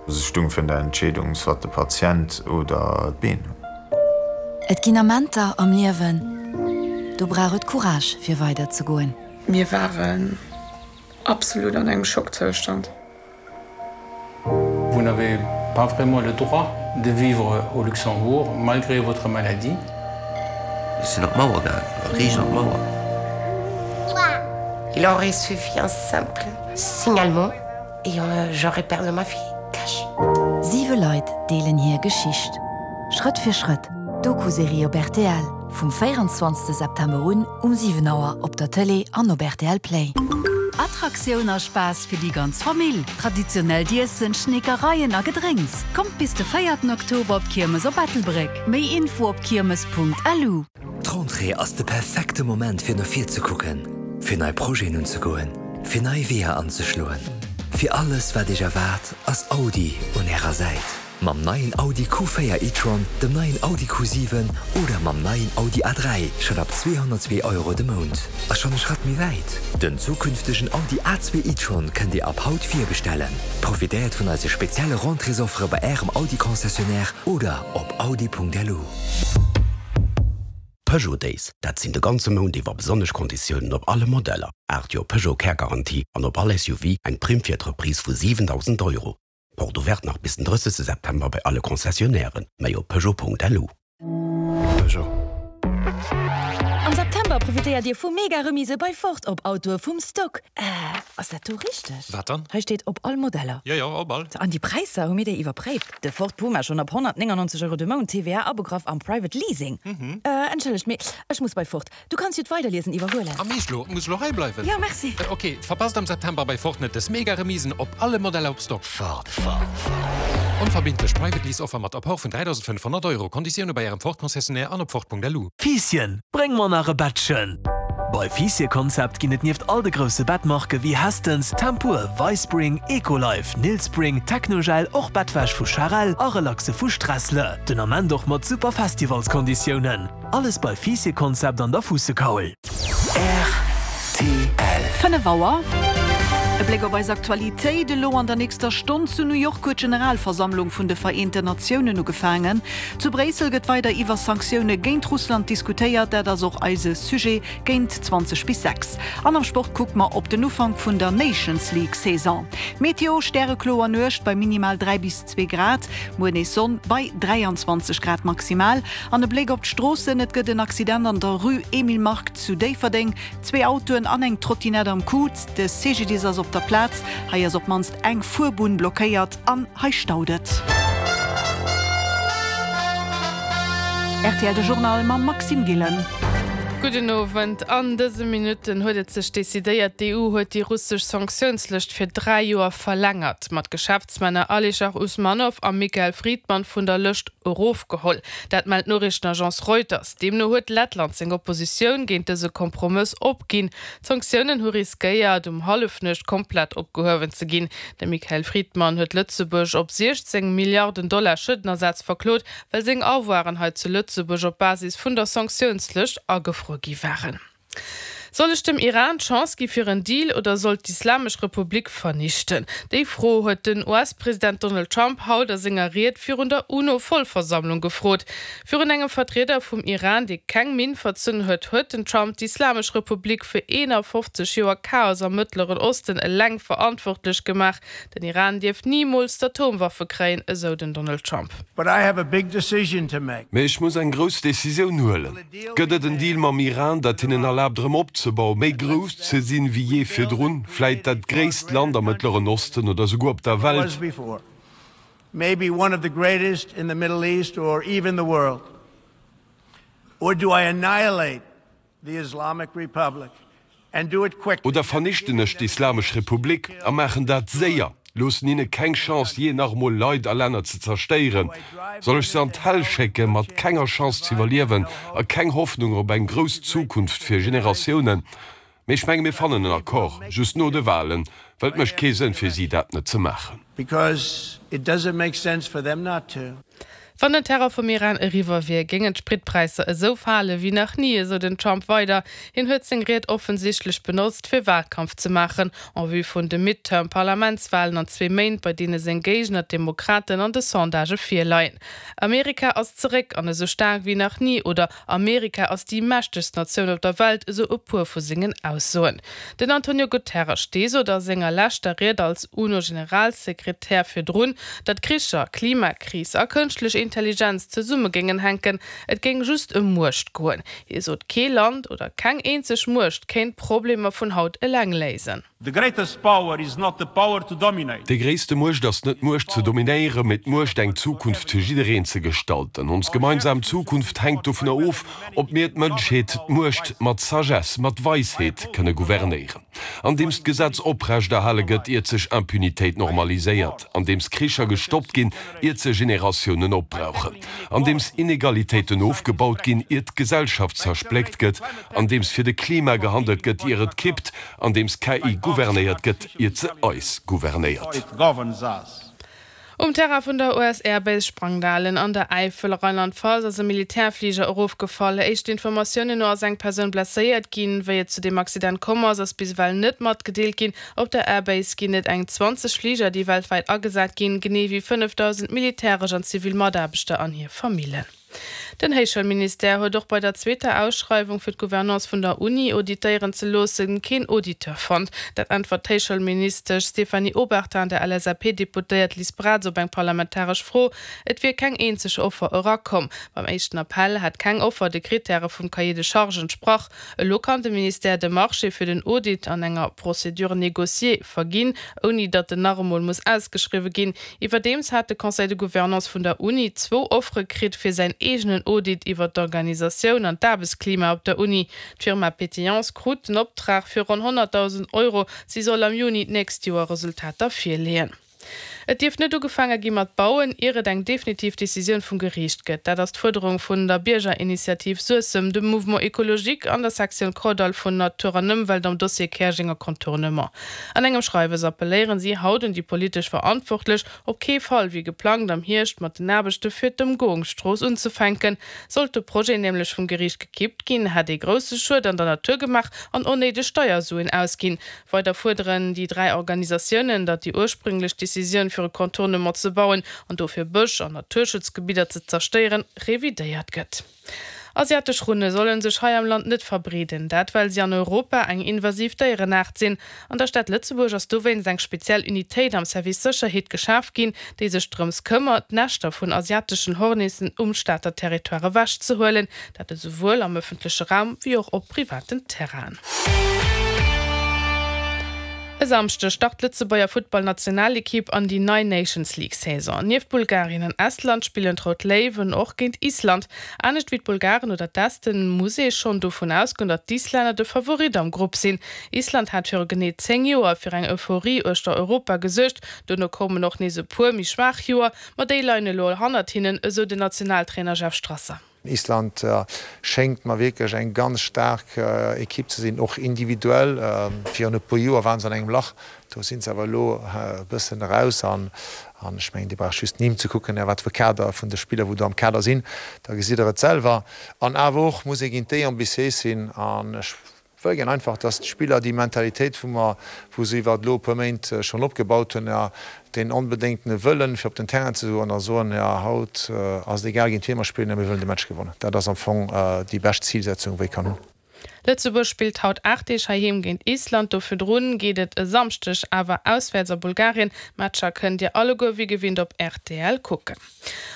Ech stung virun der Entscheedung, soit de Patient oder d'Been. Et ginn Amenter am Liewen, do brauch et Courage fir weider ze goen. Mir waren absolut an engem Schockzoustand. Vous n'avez pas vraiment le droit de vivre au Luxembourg malgré votre maladie. Ech sinn op d'Mauer gaangen, riicht an d'Mauer. Il aurait suffi un simple signalement et j'aurais perdu ma fille cash. Siwe Leit deelen hir Geschicht. Schrëtt fir Schrëtt, Doku-Serie op rtl, vum 24 September un um 7 Auer op der Tëlee an op rtl Play. Attraktioun a Spaass fir déi ganz Famill, traditionellt Iessen, Schneekereien a Gedrénks. Kommt bis de véierten Oktober op d'Kiermes op Ettelbréck. Méi Info op kiermes.lu. D'Rentrée ass de perfekte Moment fir no vir ze kucken, fir nei Projeten unzegoen, fir nei Weeër anzeschloen. Fir alles wat Iech erwaart, ass Audi un Ärer Säit. Mam neien Audi Q4 e-tron, dem neien Audi Q7 oder mam neien Audi A3 schonn ab 202 Euro de Mount. A schonn e Schratt méi wäit, Den zukünftegen Audi A2 e-tron kënnt Dir ab haut virbestellen. Profitéiert vun eise spezielle Rentréesoffere bei Ärem Audi-Concessionnaire oder op audi.lu. Peugeot Days, dat sinn de ganze Mount iwwer besonnesch Konditiounen op alle Modeller, 8 Joer Peugeot Kärgarantie an op all SUV eng Primm fir d'Reprise vu 7.000 Euro. Porte ouverte nach bis den 30 September bei alle Concessionnairen, méi op Peugeot.lu. Peugeot. Am September profitéiert Dir vu mega Remise bei Ford op Autoe vum Stock. Äh, ass dat do richteg? Wat dann? Hei steet op all Modeller. Jo, jo, op all. An déi Präisser, hu mir déi iwwerpréift? De Ford Puma schonn ab 199 Euro de Mount, TVA abegraff am Private Leasing. Äh, entschëllegt, mee ech muss bei Ford. Du kanns jo d'Weiderliesen iwwerhuelen. A meescht lo? Muss lo hei bleiwen? Jo, merci. Ok, verpasst am September bei Ford net des mega Remisen op alle Modeller op Stock. Ford, Ford, Ford. Onverbindlech Private Lease Offer mat Apport vun 3.500 Euro. Konditioune bei Ärem Ford Concessionnaire an op Ford.lu. Fiisschen, bréng mer nach e Bettchen! Bei Fiisschen-Concept ginn et nieft all de grousse Bettmarke wéi Hästens, Tempur, Vispring, Ecolife, Nilspring, Technogel och Bettwäsch vu Charel a Relaxe vu Stressle. Den Ament och mat super Festivalskonditiounen. Alles bei Fiisschen Concept an der Fuussekaul. Rtl. 5 Auer. E Bléck op eis Aktualitéit elo an der nächster Stonn. Zu New York huet d'Generalversammlung vun de Vereenten Natiounen ugefaangen. Zu Bréissel gëtt weider iwwer Sanktioune géint Russland diskutéiert. Dat ass och eise Sujet géint 20 bis 6. An am Sport kucke mer op den Ufank vun der Nations League Saison. Meteo, Stärekloer Nuecht bei minimal 3 bis 2 Grad, muer nees Sonn bei 23 Grad maximal. An e Bléck op d'Stroossen, Et gëtt en Accident an der Rue Emile Mark zu Déifferdeng. Zwee Autoen an eng Trottinett am Coup. De CGDIS ass op der Plaz. Hei ass op d'mannst eng Fuerbunn blockéiert an hei staut et. Rtl De Journal mam Maxime Gillen. Gudden Owend. An dëse Minutten huet et sech decidéiert, D'EU huet déi russesch Sanktiounslëscht fir 3 Joer verlängert. Mat Geschäftsmänner Alischer Usmanow a Mikhail Fridman vun der Lëscht erofgeholl. Dat mellt d'Noriichtenagence Reuters. Deemno huet Lettland seng Oppositioun géint dëse Kompromëss opginn. D'Sanktiounen hu riskéiert, um Hallefnuecht komplett opgehuewen ze ginn. De Mikhail Fridman huet Lëtzebuerg op 16 Milliarden Dollar Schuedenersaz verklot, well seng Avoiren hei zu Lëtzebuerg op Basis vun der Sanktiounslëscht agefruer gi waren. Soll ech dem Iran d'Chance gi fir en Deal oder soll d'Islamesch Republik vernichten? Déi Fro huet den US-President Donald Trump haut a senger Ried virun der UNO-Vollversammlung gefrot. Virun engem Vertrieder vum Iran, dee keng Minn verzunn huet, huet den Trump d'Islamesch Republik fir 51 Joer Chaos am Mëttleren Osten eleng verantwortlech gemaach. Den Iran dierft nimools d'Atomwaffe kréien, esou den Donald Trump. Mee ech muss eng grouss Decisioun huelen. Gëtt et en Deal mam Iran, dat hinnen erlaabt erëm opzebauen, méi grouss ze sinn wéi jee virdrun, vläit dat gréisst Land am Mëttleren Osten oder souguer op der Welt? Oder vernichten ech d'Islamesch Republik a maachen dat séier, loossen hinne keng Chance jee nach emol Leit a Länner ze zerstéieren? Soll ech se an d'Häll schécke mat kenger Chance z'iwwerliewen a keng Hoffnung op eng grouss Zukunft fir Generatiounen? Mee ech menge mir fannen en Accord, just no de Wahlen, well et mécht kee Sënn fir si dat net ze maachen. Wann den Terror vum Iran eriwwer wier, géingen d'Spritpräisser esou fale wéi nach ni, esou den Trump weider. Hien huet seng Ried offensichtlech benotzt, fir Walkampf ze maachen, en vue vun de Midterm-Parlamentswalen an zwee Méint, bei deene seng Géigner, d'Demokraten, an de Sondagë virleien. Amerika ass zeréck an esou staark wéi nach ni oder Amerika ass déi mächtegst Natioun op der Welt, esou e puer vu sengen Aussoen. Den Antonio Guterres, dee sot a senger leschter Ried als UNO-Generalsekretär virdrun, datt Kricher, Klimakris a kënschtlech Intelligenz zesumme géingen hänken, et géing just ëm Muecht goen. Hie sot, kee Land oder keng eenzeg Muecht kéint d'Problemer vun haut eleng léisen. The greatest power is not the power to dominate. Déi gréisste Muecht ass net d'Muecht ze dominéieren, mee d'Muecht eng Zukunft fir jiddereen ze gestalten. Ons gemeinsam Zukunft hänkt dovunner of, ob mir d'Mënschheet d'Muecht mat Sagesse, mat Weisheet kënne gouvernéieren. Andeems d'Gesetz oprechterhale gëtt, iert sech Impunitéit normaliséiert. Andeems Kricher gestoppt ginn, iert se Generatiounen opbrauchen. Andeems Inegalitéiten ofgebaut ginn, iert d'Gesellschaft zerspléckt gëtt. Andeems fir de Klima gehandelt gëtt, ier et kippt. Andeems KI gouvernéiert gëtt, iert se eis gouvernéiert. Um Terrain vun der US Air Base Sprangdalen an der Äifel, Rheinland-Pfalz, ass e Militärfliger erofgefall. Éischten Informatiounen no ass eng Persoun blesséiert ginn. Wéi et zu deem Accident komm ass, ass bis ewell net matgedeelt ginn. Op der Air Base ginn et eng 20 Fliger, déi weltwäit agesat ginn, genee wéi 5.000 militäresch an zivil Mataarbechter an hir Famillen. Den Héichschoulministère huet och bei der zweeter Ausschreiwung fir d'Gouvernance vun der Uni auditéieren ze loossen, keen Auditeur fonnt. Dat äntwert d'Héichschoulministesch Stéphanie Obertin der LSAP-Deputéiert Liz Braz op eng parlamentaresch Fro. Et wier keng eenzeg Offer erakomm. Beim éischten Appell hätt keng Offer de Krittäre vum Cahier de charges entsprach. Elo kann de Ministère de Marché fir den Audit an enger Procédure négociée verginn, ouni datt en nach emol muss ausgeschriwwe ginn. Iwwerdeems hat de Conseil de Gouvernance vun der Uni zwou Offere kritt fir säin eegenen Audit iwwer d'Organisatioun an d'Aarbechtsklima op der Uni. D'Firma Pétillance krut den Optrag fir ronn 100.000 Euro. Si soll am Juni d'nächst Joer Resultater virleeën. Et dierf net ugefaange gi mat bauen, ier et eng definitiv Decisioun vum Geriicht gëtt. Dat ass d'Fuerderung vun der Biergerinitiativ Suessem, dem Mouvement Ecologique an der Sektioun Kordall vun Natur an Ëmwelt am Dossier Käerjenger Contournement. An engem Schreiwes appelléieren si haut un déi politesch Verantwortlech, op kee Fall wéi geplangt am Hierscht mat den Aarbechte fir d'Ëmgoungsstrooss unzefänken. Sollt de Projet nämlech vum Geriicht gekippt ginn, hätt ee grousse Schued an der Natur gemaach an onnéideg Steiersuen ausginn. Weider fuerderen déi 3 Organisatiounen, datt déi ursprünglech Decisioun fir e Contournement ze bauen an dofir Bësch an Naturschutzgebidder ze zerstéieren, revidéiert gëtt. Asiatesch Runne solle sech hei am Land net verbreeden. Dat well si an Europa eng invasiv Déierenaart sinn. An der Stad Lëtzebuerg ass dowéinst eng speziell Unitéit am Service Sécherheet geschaf ginn, déi sech drëms këmmert, d'Näschter vun asiateschen Hornissen um Stater Territoire ewechzehuelen. Dat esouwuel am ëffentleche Raum wéi och op privaten Terrainen. E Samschdeg start d'Lëtzebuerger Futtballnationalekipp an déi nei Nations League Saison. Nieft Bulgarien an Estland spillen d'Rout Léiwen och géint Island. Anescht wéi d'Bulgaren oder d'Esten muss ee schonn dovun ausgoen, datt d'Islänner de Favorit am Grupp sinn. Island hat viru genee 10 Joer fir eng Euphorie uechter Europa gesuergt. Dono koumen och nees e puer méi schwaach Joer, ma déi leien elo hannert hinnen, esou den Nationaltrainer Jeff Strasser. Island schéngt mer wierklech eng ganz staark Ekipp ze sinn, och individuell. Virun e puer Joer waren se an engem Lach, do sinn se awer elo e bëssen eraus. An ech mengen, Dir braucht just d'Nimm ze kucken, wat fir Kader vun de Spiller, wou do am Kader sinn, da gesitt Der et selwer. An awer och muss ee géint déi ambitiéis sinn. An ech Wëll gär einfach, dass d'Spiller déi Mentalitéit, wou mer, wou se iwwert elo e puer Méint schonn opgebaut hunn, jo, deen onbedéngtene Wëllen, fir op den Terrain ze goen a soen, jo, haut ass et egal géint wie mer spillen, mä mir wëllen de Match gewannen. Dat ass am Fong déi bescht Zilsetzung, wou ee kann hunn. Lëtzebuerg spillt haut 8 Deeg heiheem géint Island. Do virdrun geet et e Samschdeg awer auswäerts a Bulgarien. D'Matcher kënnt dir alleguer wéi gewinnt op rtl kucken.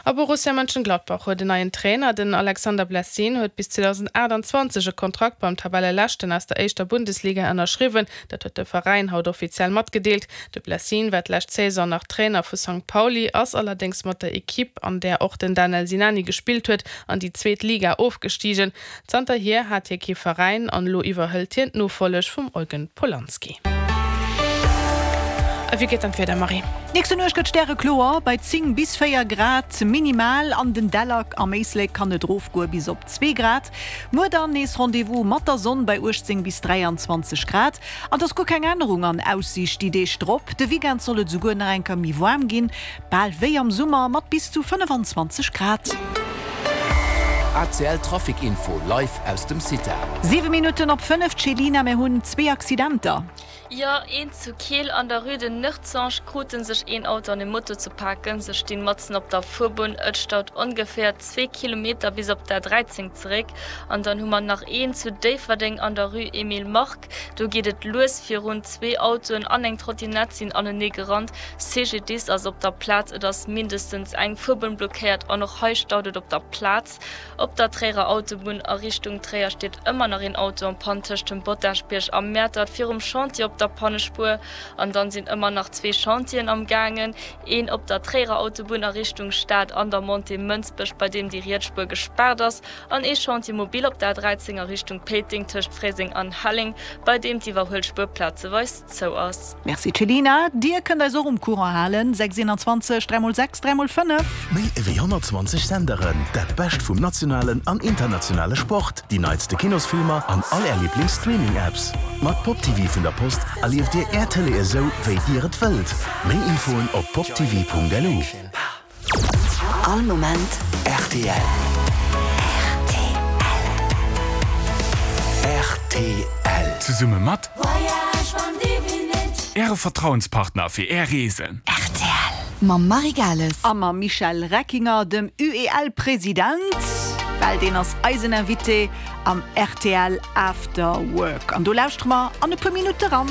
A Borussia Mönchengladbach huet en neien Trainer. Den Alexander Blessin huet bis 2028 e Kontrakt beim Tabelleleschten aus der éischter Bundesliga ënnerschriwwen. Dat huet de Veräin haut offiziell matgedeelt. De Blessin war d'lescht Saison nach Trainer vu Sankt Pauli, ass allerdéngs mat der Ekipp, an där och den Danel Sinani gespillt huet, an déi zweet Liga ofgestigen. Zanterhier hat hie kee Veräin an elo iwwerhëlt hien d'Nofolleg vum Eugen Polanski. A wéi gëtt dann d'Wieder, Marie? Nächste Nuecht gëtt stärekloer bei 10 bis 4 Grad minimal. An den Däller am Éislek kann et erofgoe bis op 2 Grad. Muer dann nees Rendez-vous mat der Sonn bei 18 bis 23 Grad. An et ass guer keng Ännerung an Aussiicht déi Deeg drop. De Weekend soll et esouguer nach eng Kéier méi waarm ginn, bal wéi am Summer mat bis zu 25 Grad. ACL Trafic Info live aus dem CITA. 7 Minutten op 5, Céline, mir hunn zwee Accidenter. Jo, een zu Keel an der Rue de Nertzange krute sech een Auto an e Moto ze paken. Se stinn matzen op der Fuerbunn. Et staut ongeféier zwee Kilometer bis op d'A 13 zeréck. An dann hu mer nach een zu Déifferdeng an der Rue Emile Mark. Do geet et lues virun. Zwee Autoen an eng Trottinett sinn anenee gerannt. CGDIS ass op der Plaz. Et ass mindestens eng Fuerbunn blockéiert an och hei staut et op der Plaz. Op der Tréierer Autobunn a Richtung Tréier steet ëmmer nach een Auto en panne tëscht dem Bottasbierg a Mäertert virum Chantier op der Pannespuer. An dann sinn ëmmer nach zwee Chantieren am gaangen, een op der Tréierer Autobunn a Richtung Stad an der Montée Mënsbech, bei deem déi riets Spuer gespaart ass, an ee Chantier mobile op der A13 a Richtung Péiteng tëscht Fréiseng an Helleng, bei deem d'Iwwerhuelspuer plazeweis zou ass. Merci Céline, dir kënnt eis och um Courant halen, 6 21 3 x 6 3 x 5. Méi ewéi 120 Senderen, dat Bescht vum nationalen an internationale Sport, déi neitste Kinosfilmer an all Är Liblings-Streaming-Apps. Mat Pop TV vun der Post erlieft Dir Är Tëlee esou, wéi Dir et wëllt. Méi Infoen op poptv.lu. All Moment rtl. Rtl. Zesumme mat Äre Vertrauenspartner fir Är Reesen. Rtl. Mam Marie Gales. A mam Michel Reckinger, dem UEL-President, well deen ass eisen Invité am rtl After Work. An do lauschtere mer an e puer Minutte ran.